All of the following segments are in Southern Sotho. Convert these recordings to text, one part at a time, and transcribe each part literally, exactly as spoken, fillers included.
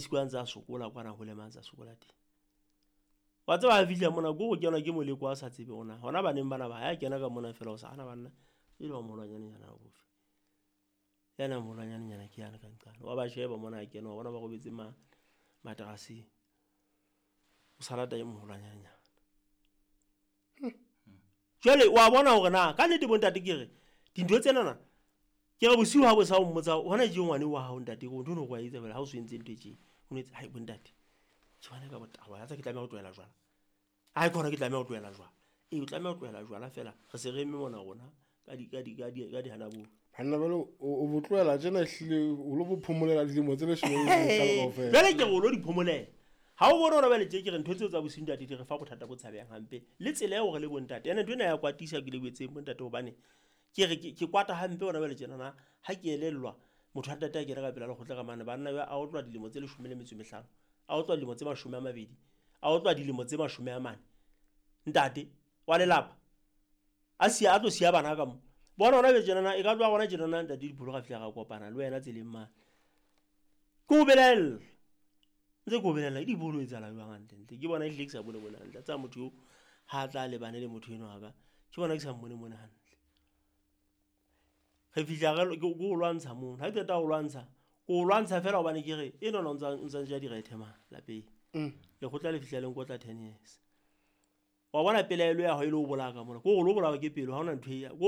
siko a ntse a sokola kwana hole mang tsa sokola teng. Wa tseba ha fihla mona ko go kenwa ke moleko a sa tsebe ona. Hona baneng bana ba ya kena ka mona fela o sa hana banna. E le wa moholwanyane nyana o bofe. Yana moholwanyane nyana ke yana ka nqane. Wa ba sheba mona a kena wa bona ba robetse ma materaseng. O sa rata e moholwanyane nyana. Jwale wa bona hore na ka nnete bo ntate ke re dintho tsena na ke re bosiu ha bo sa o mmotsa hona je ngwane wa hao ntate ko ntho no go etsa fela ha o se entse ntho e tje o no etsa hai bo ntate ke bona ka botaba ya tsa ke tlameha ho tlohela jwala hai khona ke tlameha ho tlohela jwala e o tlameha ho tlohela jwala fela re se re eme mona rona ka di ka di ka di ka di hana bo banna balo o bo tlohela tjena hlile o lo bo phomolela dilemo tse leshome le mehlano kaofela jwale ke re o lo di phomolela ha o bona hore bale tje ke re ntho tseo tsa bosiu ntate di re fa bothata bo tshabehang hampe le tsela eo re le bontate ene ntho ena ya kwatisa ke le boetseng bontate hobane ke re ke kwata hampe hona bale tjena na ha ke elellwa motho a ntate a kena ka pela lekgotla ka mane banna ba a otlwa dilemo tse leshome le metso e mehlano a otlwa dilemo tse mashome a mabedi a otlwa dilemo tse mashome a mane ntate wa lelapa a siya a tlo siya bana ka mo bona hona be tjena na e ka tloha hona tjena na ntate Dipholo ga fihla ga kopana le wena tseleng mane ke o belaella ntse ko belela di bolo etsahala jwang hantle ke bona e hlile ke sa bone bona hantle tsa motho eo ha tla lebane le motho eno haka ke bona ke sa mmone mone hantle re fihla re ke o lwantsha mono ha ke qeta ho lwantsha ko lwantsha fela hobane ke re eno no ntsa ntsa ja direthe ma lapeng lekgotla le fihla le nkotla ten years wa bona pelaelo ya hao e le o bolaya ka mona ko go lo bolawa ke pelo ha hona ntho e ko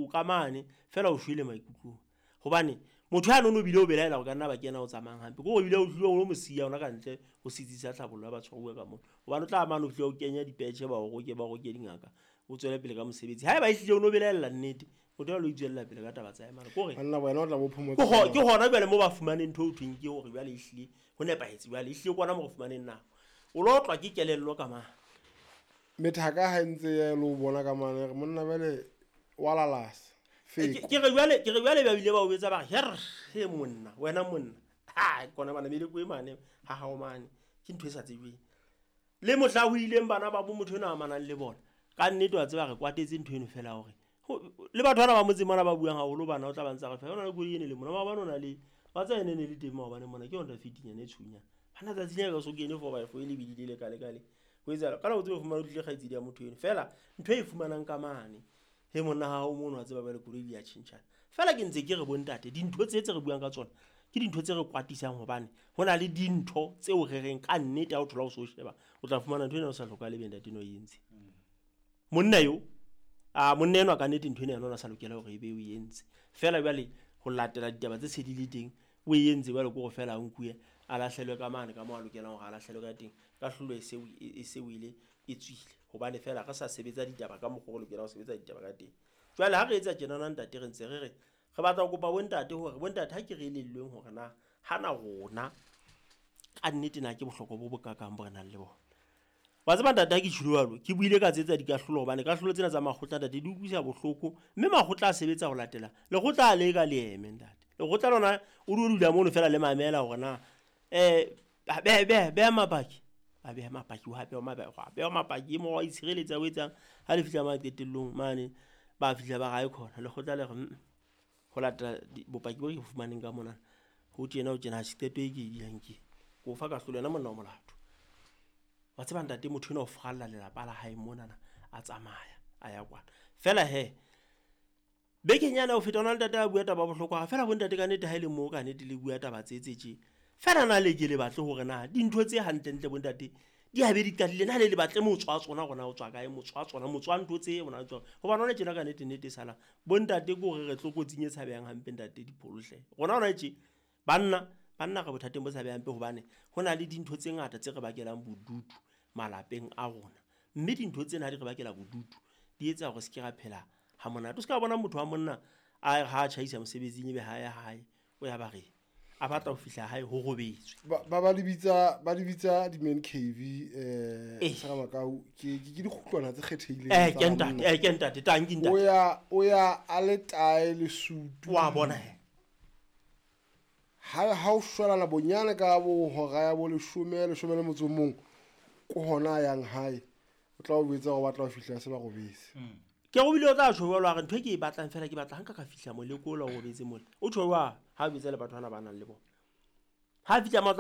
o ka mane fela o shwele maikutlong hobane motho ya nono bile o belaela go ka nna ba kena o tsamayang hampe ko o bile o tlile o mo siya ona ka ntle ho setsi sa tlhabollo ya batshwaruwa ka mona hobane o tla mane o tlile o kenya dipetjhe ba o roke ba roke dingaka o tswele pele ka mosebetsi haeba e hlile o no belaella nnete motho ya lo itswella pele ka taba tsa hae mara kore banna wena o tla bo phomotsa ke hona jwale mo ba fumaneng ntho o thweng ke hore jwale e hlile ho nepahetse jwale e hlile kwana mo re fumaneng nako o lo otlwa ke kelello ka mane methaka ha ntse ya lo bona ka mane re monna jwale wa lalasa ke re jwale ke re jwale ba bile ba o betsa ba re her he monna wena monna ha kona bana meleko e mane ha hao mane ke ntho e sa tsebeng le mohla ho ileng bana ba bo motho ena a amanang le bona ka nnete wa tseba re kwatetse ntho eno fela hore le batho bana ba motseng mona ba buang haholo bana o tla ba ntsa re fa hona le koloi ene le mona maobane o na le wa tsa ene ne le teng maobane mona ke Honda Fit nyane e tshunyana bana tsatsi le ka so kene four by four e lebidile le kale kale ho etsahala ka la o tsebe fumana o tlile kgaitsedi ya motho eno fela ntho e fumanang ka mane he monna ha o mono wa tseba ba le koloi di a tjhentjhana fela ke ntse ke re bontate dintho tse tse re buang ka tsona ke dintho tse re kwatisang hobane ho na le dintho tseo re reng ka nnete ha o thola o so sheba o tla fumana ntho ena o sa hlokahale be ntate no e entse monna yo a monna enwa ka nnete ntho ena yona o sa lokela hore ebe o e entse fela jwale ho latela ditaba tse se di le teng o e entse jwale ke hore fela a nkuwe a lahlelwe ka mane ka moo a lokelang hore a lahlelwe ka teng ka hlolo e se e se o ile e tswile hobane fela re sa sebetsa ditaba ka mokgwa o lokelang ho sebetsa ditaba ka teng jwale ha re etsa tjena na ntate re ntse re re re batla ho kopa bontate hore bontate ha ke re elellweng hore na hana rona ka nnete na ke bohlokwa bo bokakang bo re nang le bona wa tseba ntate ha ke tjholo jwalo ke buile ka tsetsa dikahlolo hobane kahlolo tsena tsa makgotla ntate di utlwisa bohloko mme makgotla a sebetsa ho latela lekgotla a le ka leeme ntate lekgotla lona o di dula mono fela le mamela hore na eh be be be mapaki a beha mapaki wa beha mapaki beha mapaki mo wa itshireletsa o etsang ha le fihla maqetellong mane ba fihla ba gae khona lekgotla le re ho latela bopaki bo ke fumaneng ka mona ho tjena o tjena ha qeto e ke e diang ke ko fa kahlolo yena monna wa molato wa tseba ntate motho ena o fralla lelapa la hae monana a tsamaya a ya kwana fela he bekeng yana o feta ona le ntate a bua taba bohlokwa fela bo ntate ka nnete ha ile moo ka nnete le bua taba tse tse tje fela na le ke le batle hore na dintho tse hantlentle bo ntate di habe di qadile na le le batle motho wa tsona rona o tswa kae motho wa tsona motho wa ntho tse ona tsona hobane hona tjena ka nnete nnete sala bo ntate ke hore re tlokotsing e tshabehang hampe ntate Dipholo hle rona hona tje banna banna re bothateng bo tshabehang hampe hobane ho na le dintho tse ngata tse re bakelang bodutu malapeng a rona mme dintho tsena ha di re bakela bodutu di etsa hore se ke ra phela ha monate o se ka bona motho wa monna a ha a tjhaisa mosebetsing ebe ha ya hae o ya ba re a batla ho fihla hae ho robetswe ba ba di bitsa ba di bitsa di man cave eh Seramakau ke ke dikgutlwana tse kgethehileng eh ke ntate eh ke ntate tanki ntate o ya o ya a le tae le sutu wa bona he ha ha o shwalana bonyane ka bo hora ya bo leshome leshome le motso mong ko hona yang hae o tla o betsa go batla ho fihla se ba robetse ke go bile o tla tjho jwalo a re ntho e ke e batlang fela ke batla hanka ka fihla moleko o la o robetse mole o tjho jwang ha o betsa le batho bana ba nang le bona ha fihla mo tla